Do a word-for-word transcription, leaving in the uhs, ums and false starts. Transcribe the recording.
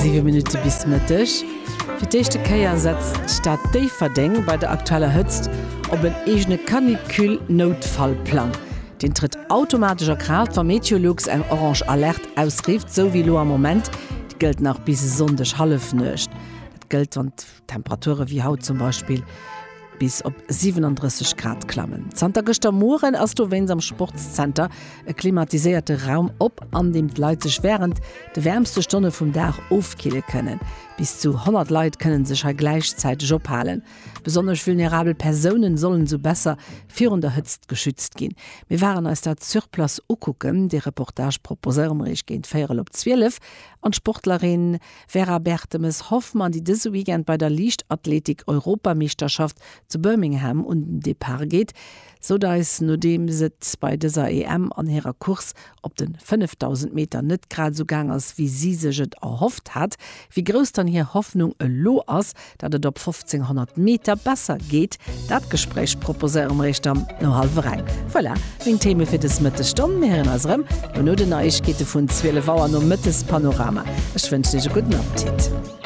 Siwe Minutte bis Mëtteg. Fir d'éischte Kéier setzt d'Stad Déifferdeng bei der aktueller Hëtzt op en eegene Canicule-Noutfallplang. Deen trëtt automatesch a Kraaft, wa Meteolux eng orange Alerte ausrifft, sou wéi elo am Moment. Déi gëllt nach bis e Sonndeg Hallefnuecht. Dat gëllt, wann d'Temperature wéi haut zum Beispill bis op siwenandrësseg Grad klammen. Zanter gëschter Mueren ass dowéinst am Sportszenter e klimatiséierte Raum op, an deem d'Leit sech wärend de wäermste Stonne vum Dag ofkille kënnen. Bis zu honnert Leit kënne sech hei gläichzäiteg ophalen. Besonnesch vulnerabel Persounen sollen esou besser virun der Hëtzt geschützt ginn. Mir waren eis dat sur place ukucken. Dee Reportage proposéiere mer iech géint véierel op zwielef. An d'Sportlerin Vera Bertemes-Hoffmann, déi dëse Weekend bei der Liichtathletik-Europameeschterschaft zu Birmingham un den Depart geet, sot eis, nodeems et bei dëser E M an hirer Course op de fënnefdausend Meter net grad esou gaang ass, wéi si sech et erhofft hat, wéi grouss dann hir Hoffnung elo ass, datt et op fofzénghonnert Meter besser geet. Dat Gespréich proposéiere mer iech dann no hallwer eng. Voilà, meng Theme fir dës Mëttesstonn. Mir héieren eis erëm no den Neiegkeete vun zwielef Auer nom Mëttespanorama. Ech wënschen iech e gudden Appetit.